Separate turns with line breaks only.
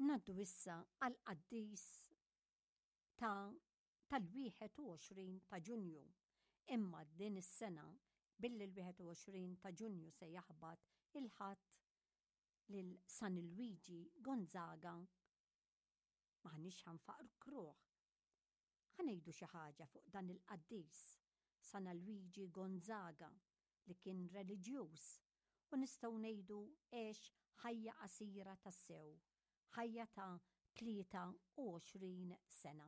Ngħaddu issa għall-qaddis ta' tal-21 ta' Ġunju. Imma din is-sena billi l-21 ta' Ġunju se jaħbat il-Ħadd lil San Luigi Gonzaga m'aħniex ħa nfakkruh. Ħa ngħidu xi ħaġa fuq dan il-qaddis, San Luigi Gonzaga, li kien reliġjuż u nistgħu ngħidu għex ħajja qasira tassew, ħajja ta' 23 sena.